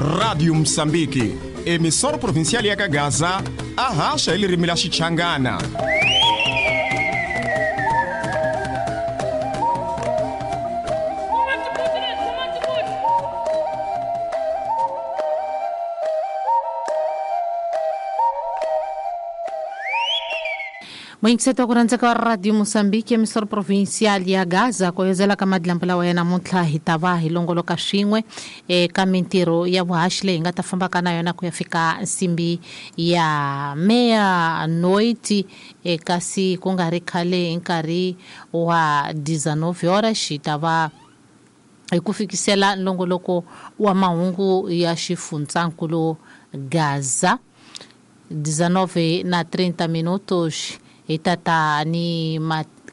Rádio Moçambique, emissora provincial ya Gaza, arracha ele rimila Xichangana. Muyingiseti wa ku rhandzeka wa Radio Mozambique, emissora provincial ya Gaza, ku yozela ka madlambu lawa ya namuntlha hi ta va hi longoloka swin'we eka mintirho ya vuhaxi leyi hi nga ta fambaka na yona ku ya fika nsimbi ya meia-noite, kasi ku nga ri khale hi nkarhi wa 19 horas hi ta va hi ku fikisela nlongoloko wa mahungu ya xifundzankulu Gaza. 19 na 30 minutos hi tata ni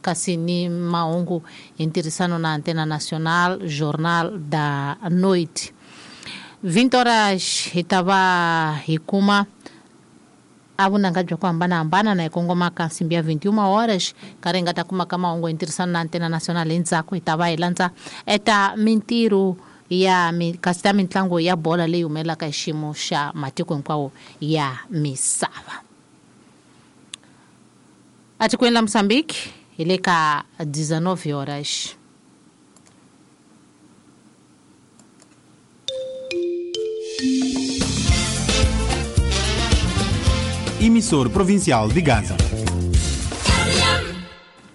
kasi ni mahungu hi ntirhisano na Antena Nacional, Jornal da Noite. 20 horas hi ta va hi kuma a vunanga bya ku hambanahambana na hi kongoma ka nsimbi ya 21 horas, nkarhi hi nga ta kuma ka mahungu hi ntirhisano na Antena Nacional. Endzhaku hi ta va hi landza eta mintirho ya kasi ta mintlangu ya bola leyi humelelaka hi xiyimo xa matiko hinkwawo ya misava. Atikweni la Mozambique hi le ka 19 horas. Emissor provincial de Gaza.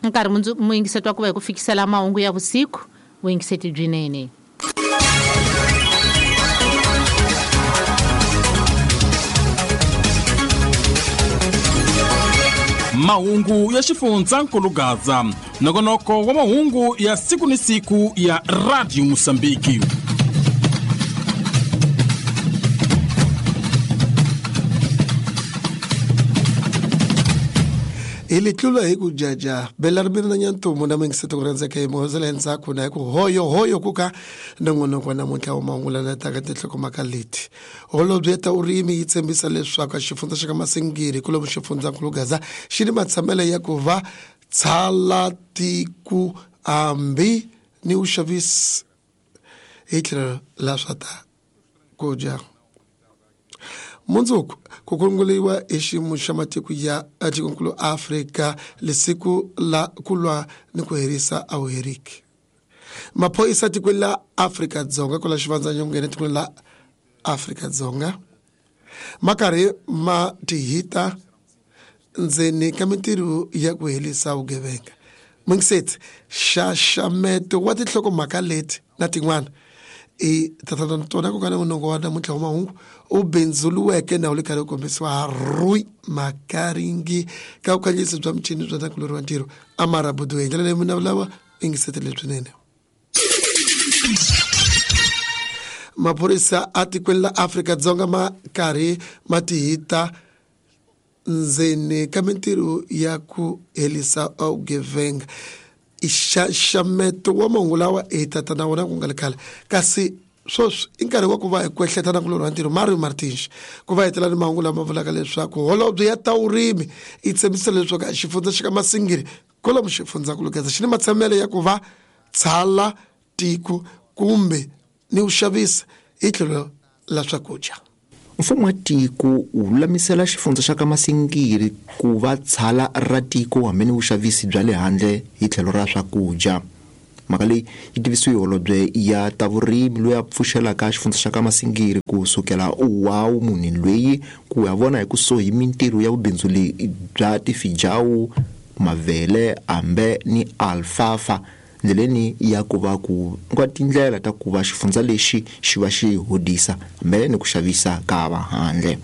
Nkarhi muyingiseti wa ku va hi ku fikisela mahungu ya vusiku, vuyingiseti byinene. Mahungu ya xifundzankulu Gaza, nongonoko wa mahungu ya siku ni siku ya Radio Mozambique. Hi litlula hi ku jaja bela ri mina na nyantumu na mingiseti ku rhandzeka hi muhozela endzhaku na hi ku hoyo hoyo ku ka nongonoko wa namuntlha wa mahungu lana taka tinhlokomhaka leti. Holobye ta urimi yi tshembisa leswaku xifundza xa ka Masingiri kulomu xifundzankulu Gaza xi ni matshamelo ya ku va tshala tiku hambi ni vuxavisi hi tlhelo la swa ta ku dya. Mundzuku ku kunguliwa hi xiyimo xa matiko ya tikonkulu Afrika lesiku la ku lwa ni ku herisa a wu heriki. Maphorisa tikweni la Afrika-Dzonga kwala xivandzanyongeni tikweni la Afrika-Dzonga ma karhi ma tihita ndzeni ka mintirho ya ku herisa vugevenga. Mungiseti xaxameto wa tinhlokomhaka leti na tin'wana i tatana tona ku ka nongonoko wa namuntlha wa mahungu u bindzuluweke na wu le karhi u kombisiwa ha Rui Makaringi ka vukanganyisi bya michini bya ntakulori wa ntirho Amara Buduwe. Hi ndlela leyi munhu lava yingiseti lebyinene. Maphorisa a tikweni la Afrika-Dzonga ma karhi ma tihita ndzeni ka mintirho ya ku herisa vugevenga. Xaxameto wa mahungu lawa hi tata na wona ku nga le khale, kasi sweswi i nkarhi wa ku va hi kwehleta na kulorhi wa ntirho Mario Martins ku va hetela ni mahungu lama vulaka leswaku holobye ya ta vurimi yi tshembisa leswaku xifundza xa ka Masingiri kwalomu xifundzankulu Gaza xi ni matshamelo ya ku va tshala tiko kumbe ni ku xavisa hi tlhelo la swakudya. Mfumo wa tiko wu lulamisela xifundza xa ka Masingiri ku va tshala ra tiko hambi ni vuxavisi bya le handle hi tlhelo ra swakudya. Mhaka leyi yi tivisiwe hi holobye ya ta vurimi loyi a pfuxelaka xifundza xa ka Masingiri ku sukela wa munhu loyi ku ya vona hi kusuhi mintirho ya vubindzuli bya tifijawu, mavele, ambe ni alfalfa, ndleleni ya ku va ku nga tindlela ta ku va xifundza lexi xi va xi hodisa hambi ni ku xavisa ka vahandle.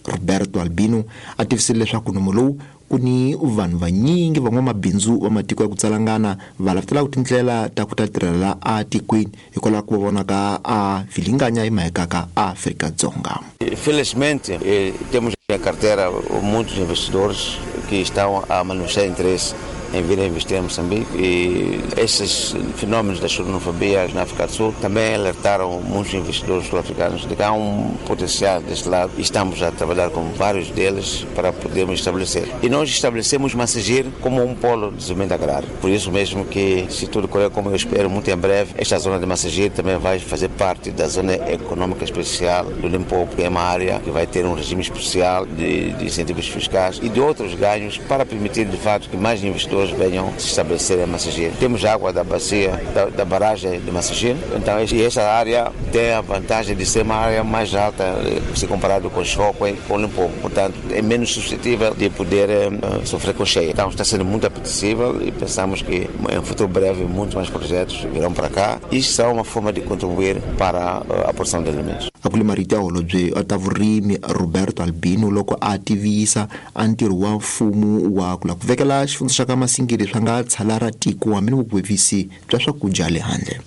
Roberto Albino a tivisile leswaku nomo lowu ku ni vanhu vanyingi van'wamabindzu va matiko ya ku tsalangana va lavetelaka tindlela ta ku ta tirhela atikweni hikwalaho ku va vonaka a vilinganya hi maheka ka Afrika-Dzonga. Felizmente, temos na carteira muitos investidores que estão a manifestar interesse em vir a investir em Moçambique e esses fenômenos da xenofobia na África do Sul também alertaram muitos investidores sul-africanos de que há um potencial deste lado e estamos a trabalhar com vários deles para podermos estabelecer. E nós estabelecemos Massingir como um polo de desenvolvimento agrário. Por isso mesmo que, se tudo correr como eu espero, muito em breve, esta zona de Massingir também vai fazer parte da zona econômica especial do Limpopo, que é uma área que vai ter um regime especial de incentivos fiscais e de outros ganhos para permitir, de fato, que mais investidores venham se estabelecer em Massingir. Temos água da bacia, da barragem de Massingir, então esta área tem a vantagem de ser uma área mais alta se comparado com Chókwè e com Limpopo, portanto é menos suscetível de poder sofrer com cheia. Então está sendo muito apetecível e pensamos que em um futuro breve muitos mais projetos virão para cá e são uma forma de contribuir para a produção de alimentos. A ku marito ya holobye ta vurimi Roberto Albino loko a tivisa a ntirho wa mfumo wa ku lava ku vekela xifundza xa ka Masingiri swa nga tshala ra tiko hambi ni vugwevisi bya swakudya le handle.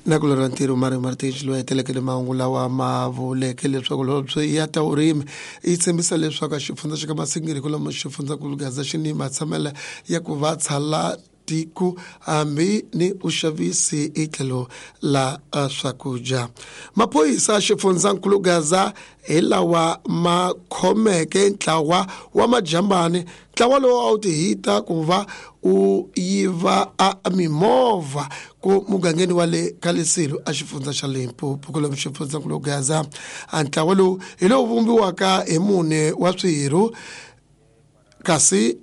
Na ku lora ntirho Mario Martins loyi hetelekele mahungu lawa ma vuleke leswaku holobye ya ta vurimi yi tshembisa leswaku xifundza xa ka Masingiri kwalomu xifundzankulu Gaza xi ni matshamelo ya ku va tshala tiko hambi ni uxavisi hi tlhelo la swakudya. Maphorisa xifundzankulu Gaza hi lawa ma khomeke ntlawa wa majambani, ntlawa lowu a wu ti hita ku va u yiva a mimovha ku mugangeni wa le ka Lesilo a xifundza xa Limpopo kwalomu xifundzankulu Gaza. A ntlawa lowu hi lowu vumbiwaka hi mune wa swirho kasi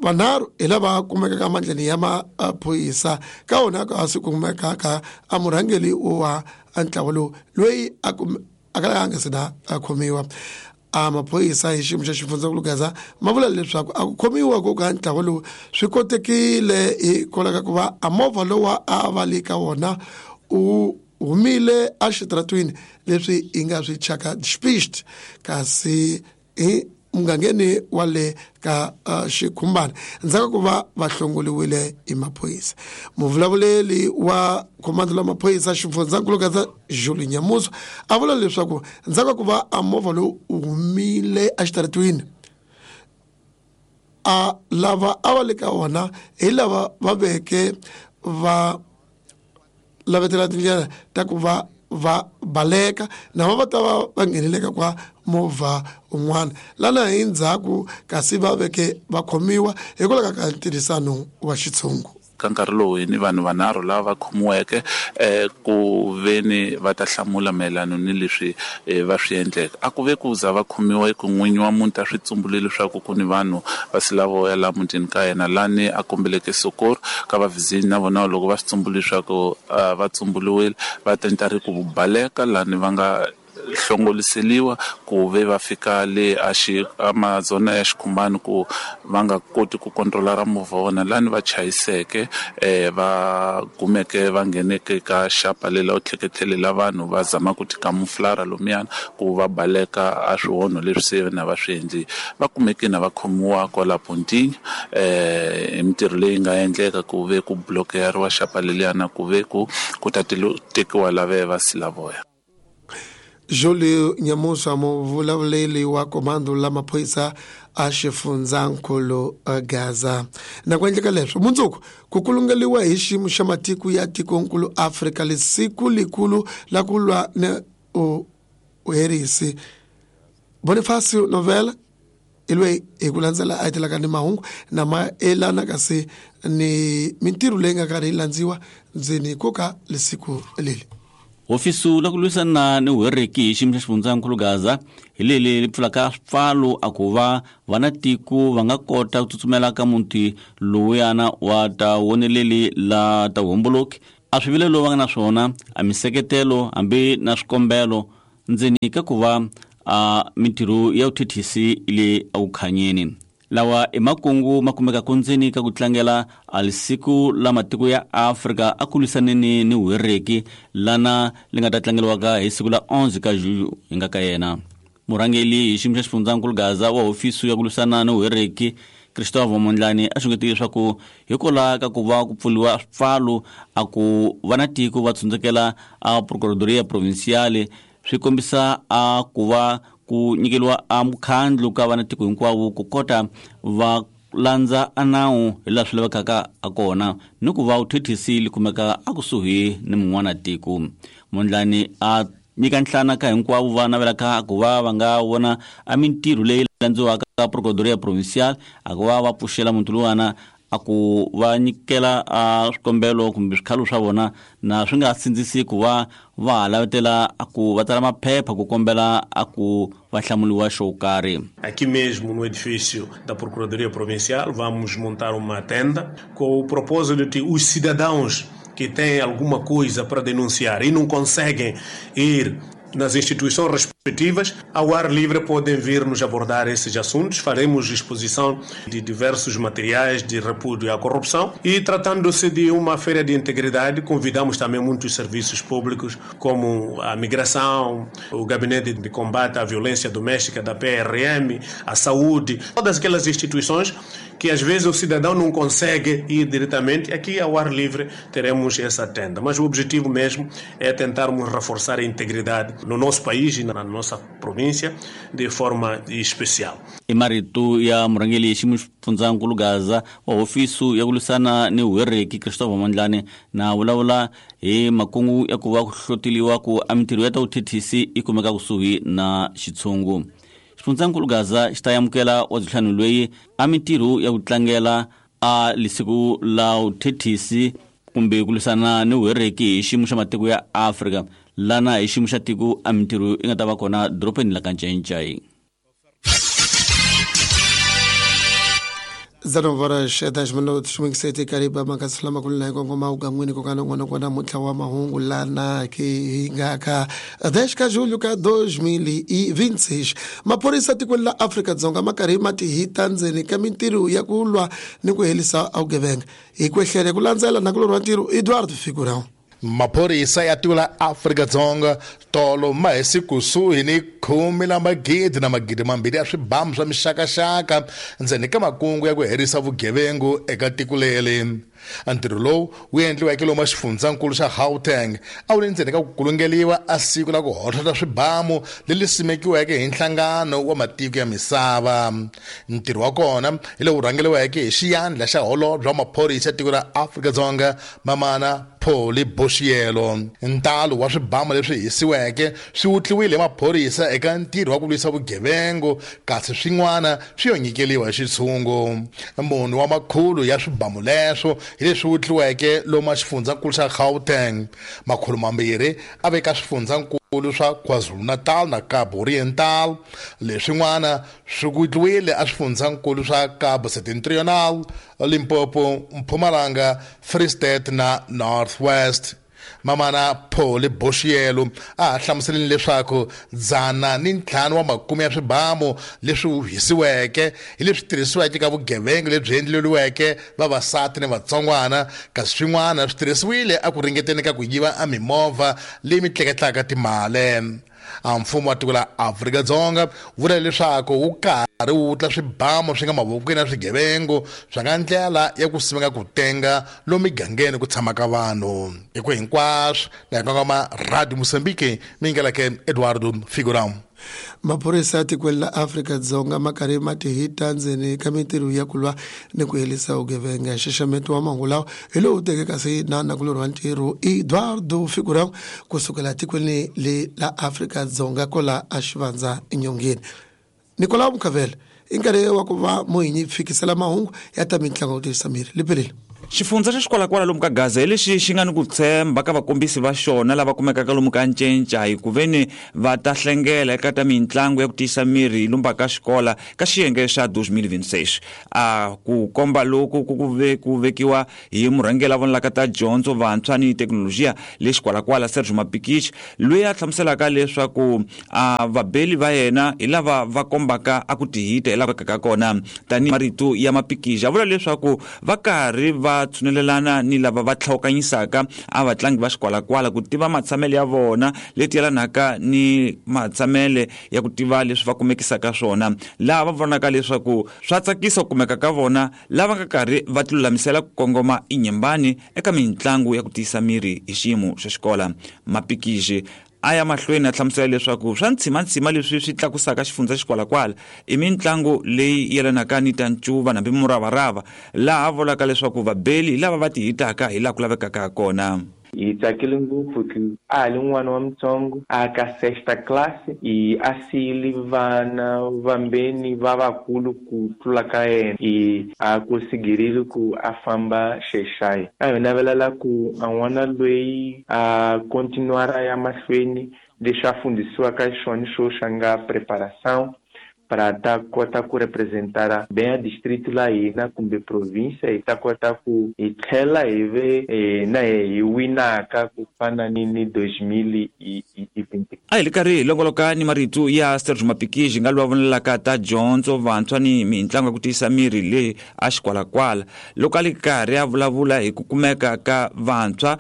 vanharhu hi lava kumekaka emandleni ya maphorisa ka wona ka swi kumekaka a murhangeri wa ntlawa lowu loyi a kalaka a nga se na a khomiwa. A maphorisa hi xiyimo xa xifundzankulu Gaza ma vula leswaku a ku khomiwa ko ka ntlawa lowu swi kotekile hikwalaho ka ku va a movha lowa a va le ka wona u humile exitaratweni leswi hi nga swi thyaka despist kasi hi mugangeni wa le ka xikhumbana ndzhaku ku va va hlongoliwile hi maphorisa. Muvulavuleri wa khomando la maphorisa xifundzankulu Gaza Julie Nyamuso a vula leswaku ndzhaku ku va a movha lowu humile exitaratweni a lava a va le ka wona hi lava va veke va lavetela tindlela ta ku va va baleka na va ta va va ngheneleka kwa movha un'wana lana hi ndzhaku kasi va veke va khomiwa hikwalaho ka ntirhisano wa xitshungu. Ka nkarhi lowu hi ni vanhu vanharhu lava va khomiweke ku veni va ta hlamula mayelana ni leswi va swi endleke. A ku ve ku za va khomiwa ku n'winyi wa muti a swi tsumbule leswaku ku ni vanhu va silavoya laha mutini ka yena lani a kombeleke sokoro ka vavhizini na vona loko va swi tsumbule leswaku va tsumbuliwile va tenta ri ku baleka lani va nga hlongoliseliwa ku ve va fika le amazona ya xikhumbani ku va nga koti ku controla ra movha wona lani va chayiseke va kumeke va ngheneke ka xapa lela u tlheketlhelela vanhu va zama ku tikamuflara lomuyana ku va baleka a swihonho leswi se na va swi endli va kumeke na va khomiwa kwala Pontinha hi mintirho leyi nga endleka ku ve ku blokeriwa xapa leliyana ku ve ku ta tekiwa lave va silavoya. Julie Nyamusa muvulavuleri wa komando la maphorisa a xifundzankulu Gaza. Na ku endleka leswo mundzuku ku kulungeliwa hi xiyimo xa matiko ya tikonkulu Afrika lesiku likulu la ku lwa ni uherisi. Bonifacio Novela hi loyi hi ku landzela a hetelaka ni mahungu na maelana kasi ni mintirho leyi nga karhi yi landziwa ndzeni ko ka lesiku leli. Hofisi la ku lwisana ni vuhereki hi xiyimo xa xifundzankulu Gaza hi leli li pfulaka swipfalo a ku va vana tiko va nga kota ku tsutsumela ka muti lowuyana wa ta woneleli la ta vuhomboloki a swivilelo va nga na swona a miseketelo hambi na swikombelo ndzeni ka ku va a mintirho ya vuthethisi le evukhanyeni. Lawa i makungu ma kumekaka ndzeni ka ku tlangela a lisiku la matiko ya Afrika a ku lwisaneni ni vuhereki lana li nga ta tlangeriwaka hi siku la 11 ka Julho hi nga ka yena. Murhangeri hi xiyimo xa xifundzankulu Gaza wa hofisi ya ku lwisana ni vuhereki Christopher Mondlane a xungetile leswaku hikwalaho ka ku va ku pfuriwa swipfalo a ku va na tiko va tsundzukela a Procuradoria Provinciale swi kombisa a ku va ku nyikeriwa a mukhandlu ka vana tiko hinkwavo ku kota va Landza a nawu hi laha swi lavekaka a kona ni ku va vuthethisi li kumeka akusuhi ni mun'wana tiko. Mondlane a nyika nhlana ka hinkwavo va navelaka ku va va nga vona a mintirho leyi landziwaka ka Procuradoria Provincial a ku va va pfuxela muti luwana a ku va nyikela a swikombelo kumbe swikhalo swa vona na swi nga sindzisi ku va va ha lavetela a ku va tsala maphepha ku kombela a ku va hlamuliwa xo karhi. Aqui mesmo no edifício da Procuradoria Provincial vamos montar uma tenda com o propósito de os cidadãos que têm alguma coisa para denunciar e não conseguem ir nas instituições respectivas, ao ar livre podem vir nos abordar esses assuntos. Faremos exposição de diversos materiais de repúdio à corrupção e, tratando-se de uma feira de integridade, convidamos também muitos serviços públicos, como a migração, o Gabinete de Combate à Violência Doméstica da PRM, a saúde, todas aquelas instituições que às vezes o cidadão não consegue ir diretamente. Aqui ao ar livre teremos essa tenda. Mas o objetivo mesmo é tentarmos reforçar a integridade no nosso país e na nossa província de forma especial. I marito ya murhangeri ximufundzankulu Gaza wa hofisi ya ku lwisana ni vuhereki Christopher Mondlane na vulavula hi makungu ya ku va ku hloteliwa ku a mintirho ya ta vuthethisi yi kumeka kusuhi na xitshungu. Xifundzankulu Gaza xi ta amukela wa byihlanu loyi a mintirho ya ku tlangela a lisiku la vuthethisi kumbe ku lwisana ni vuhereki hi xiyimo xa matiko ya Afrika lana hi xiyimo xa tiko a mintirho yi nga ta va kona dorobeni la ka Ncayincai. 19:10 mingisete kariba makasala makulu na kongoma ugan'wini kokana n'wana kona muntlha wa mahungu lana ke hi nga ka 10 ka julho ka 2026. Maphorisa tikweni la Afrika-Dzonga ma karhi ma tihita ndzeni ka mintirho ya ku lwa ni ku herisa vugevenga. Hi kwehlele ku landzela nakulorhi wa ntirho Eduardo Figurão. Maphorisa ya tiko la Afrika-Dzonga tolo ma hisi kusuhi ni 10 na magidi na magidi mambirhi ya swibamu swa mixakaxaka ndzeni ka makungu ya ku herisa vugevengu eka tiko leri. Ntirho lowu wu endliweke lomu xifundzankulu xa Gauteng a wu ri ndzeni ka ku kulungeliwa a siku la ku hohlota swibamu leri simekiweke hi nhlangano wa matiko ya misava. Ntirho wa kona hi lowu rhangeriweke hi xiyandla xa holobye wa maphorisa ya tiko ra Afrika-Dzonga Mamana Pholi Boshielo. Ntalo wa swibamu leswi hisiweke swi wutliwile hi maphorisa eka ntirho wa ku lwisa vugevengu, kasi swin'wana swi yo nyikeliwa hi xitshungu. Munhu wa makhulu ya swibamu leswo hi leswi wutliweke lomu xifundzankulu xa Gauteng, makhulu mambirhi a veka swifundzankulu swa KwaZulu-Natal na Cabo Oriental. Leswin'wana swi wutliwile a swifundzankulu swa Cabo Septentrional, Limpopo, Mpumalanga, Free State na North West. Mamana Pholi Boshielo a hlamuseleni leswaku 105 wa makume ya swibamu leswi hisiweke hi leswi tirhisiweke ka vugevenga lebyi endleriweke vavasati ni vatsongwana, kasi swin'wana swi tirhisiwile a ku ringeteni ka ku yiva a mimovha leyi mi tleketlaka timali. A mfumo wa tiko la Afrika-Dzonga vula leswaku wu karhi wu wutla swibamu swi nga mavokweni ya swigevengu swa nga ndlela ya ku simeka ku tenga lomu migangeni ku tshamaka vanhu. Hi ku hinkwaswo na hi kongoma Radio Mozambique mi ngeleke Eduardo Figurão. Maphorisa ya tikweni la Afrika-Dzonga ma karhi ma tihita ndzeni ka mintirho ya ku lwa ni ku herisa vugevenga. Nxaxameto wa mahungu lawa hi lowu teke kasi na nakulorhi wa ntirho Eduardo Figurão kusukela tikweni le la Afrika-Dzonga kola a xivandza enyongeni. Nicolau Mukavela i nkarhi wa ku va muhinyi fikisela mahungu ya ta mitlangu ku tirhisa miri liphelile. Xifundza xa xikwalakwala lomu ka Gaza hi lexi xi nga ni ku tshemba ka vakombisi va xona lava kumekaka lomu ka Ncenca hi ku veni va ta hlengela eka ta mitlangu ya ku tiyisa miri lomu ka xikola ka xiyenge xa 2026. A ku komba loku ku vekiwa hi murhangeri la vonelaka ta dyondzo vantshwa ni thekinolojiya le xikwalakwala Sergio Mapikich, loyi a hlamuselaka leswaku a vabeli va yena hi lava va kombaka a ku tihita hi lava ka kona. Tanihi marito ya Mapikich a vula leswaku va karhi va tshunelelana ni lava va tlhawukanyisaka a vatlangi va xikwalakwala ku tiva matshamele ya vona leti yelanaka ni matshamele ya ku tiva leswi va kumekisaka swona, laha va vonaka leswaku swa tsakisa ku kumeka ka vona lava nga karhi va tilulamisela ku kongoma inyembani eka mitlangu ya ku tiyisa miri hi xiyimo xa xikola. Mapikiji A ya mahlweni a hlamusela leswaku swa ntshimantsima leswi swi tlakusaka xifundza xikwalakwala i mitlangu leyi yelanaka ni ta ncuva nambi muravarava, laha vulaka leswaku vabeli hi lava va ti hitaka hi laha ku lavekaka kona. Hi tsakile ngopfu ku a ha li n'wana wa mutsongo a ka sexta classe i a siyile vana vambeni va vakulu ku tlula ka yena i a kosigirile ku a famba xexayi. A hi navelela ku a n'wana loyi a continuara ya mahlweni leswi a fundisiwaka xona xo xa nga preparação para ta kota ku representar bem a distrito la hina kumbe província, hi ta kota ku hi tlhela hi ve na hi winaka ku fana ni 2020. A hi li karhi hi longoloka ni marito ya Sergio Mapikiji nga lowa vonelaka ta dyondzo vantshwa ni mitlangu ya ku tiyisa miri leyi a xikwalakwala, loko a li karhi a vulavula hi ku kumeka ka vantshwa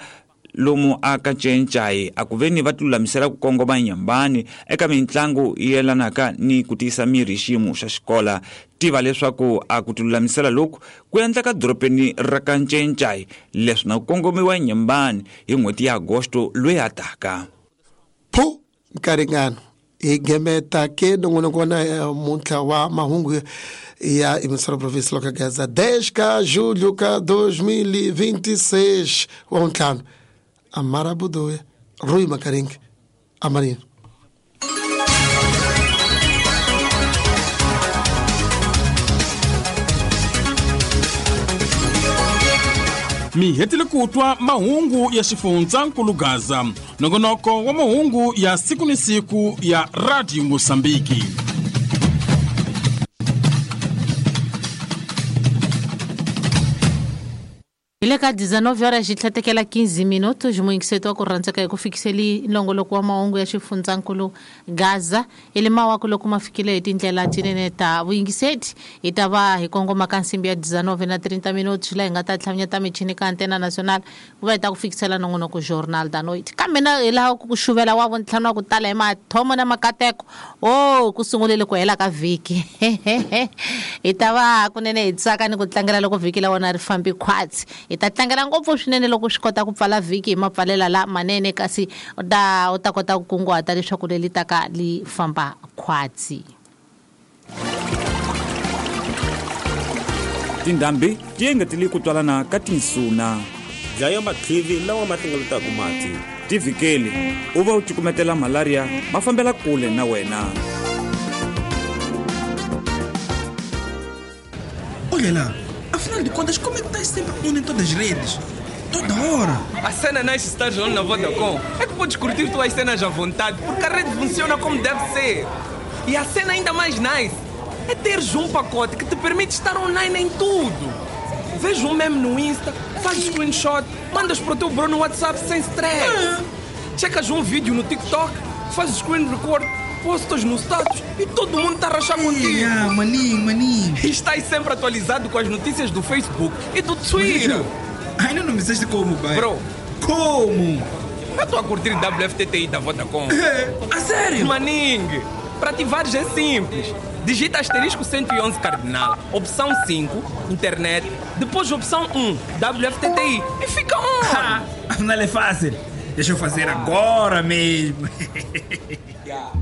lomu a ka Ncencai a ku veni va tilulamisela ku kongoma nyambani eka mitlangu yelanaka ni ku tiyisa miri hi xiyimo xa xikola. Tiva leswaku a ku tilulamisela loku ku endleka dorobeni ra ka Ncencai, leswi na ku kongomiwa nyambani hi n'hweti ya Agosto loyi a taka. Phu nkaringano hi gemeta ke nongonoko wa namuntlha wa mahungu ya emissora província loka Gaza 10 ka julho ka 2026 wa ntlhanu. Amara Budoya, Rui Makaringa, Amarino. Mi hetile ku twa mahungu ya xifundzankulu Gaza, nongonoko wa mahungu ya siku ni siku ya Radio Mosambiki. Hi le ka 19 horas xi tlhatekela 15 minutos muyingiseti wa ku rhandzeka hi ku fikiseli nongoloko wa mahungu ya xifundzankulu Gaza i le mawaku loko ma fikile hi tindlela tinene ta vuyingiseti. Hi ta va hi kongoma ka nsimbi ya 19 na 30 minutos laha hi nga ta tlhaminyeta michini ka Antena Nacional ku va hi ta ku fikisela nongonoko Jornal da Noite. Kambe na hi laha ku xuvela wa vuntlhanu wa ku tala hi mathomo na makateko o ku sungulele ku hela ka vhiki. Hi ta va kunene hi tsaka ni ku tlangela loko vhiki la wona ri fambi khwatsi. Hi ta tlangela ngopfu swinene loko swi kota ku pfala vhiki hi mapfalela la manene, kasi u ta kota ku kunguhata leswaku leri taka li famba khwatsi. Tindhambi ti engetele ku twalana ka tinsuna. Dlaya mathivi lawa ma hlengeletaka mati. Ti vhikeli u va u cukumetela malaria ma fambela kule na wena. Olha lá, afinal de contas, como é que estás sempre on em todas as redes? Toda hora! A cena nice estás on na Vodacom é que podes curtir tuas cenas à vontade, porque a rede funciona como deve ser. E a cena ainda mais nice é teres um pacote que te permite estar online em tudo. Vês um meme no Insta, fazes screenshot, mandas para o teu bro no WhatsApp sem stress. Checas um vídeo no TikTok, fazes screen record, postas no status e todo mundo está a rachar contigo. Ah, maninho. E estás sempre atualizado com as notícias do Facebook e do Twitter. Ainda não me disseste como, pai. Bro. Como? Eu estou a curtir WFTTI da Vodacom. A sério? Maningue, para ativares é simples. Digita asterisco 111 cardinal, opção 5, internet, depois opção 1, WFTTI e fica on! Afinal é fácil. Deixa eu fazer agora mesmo. Yeah.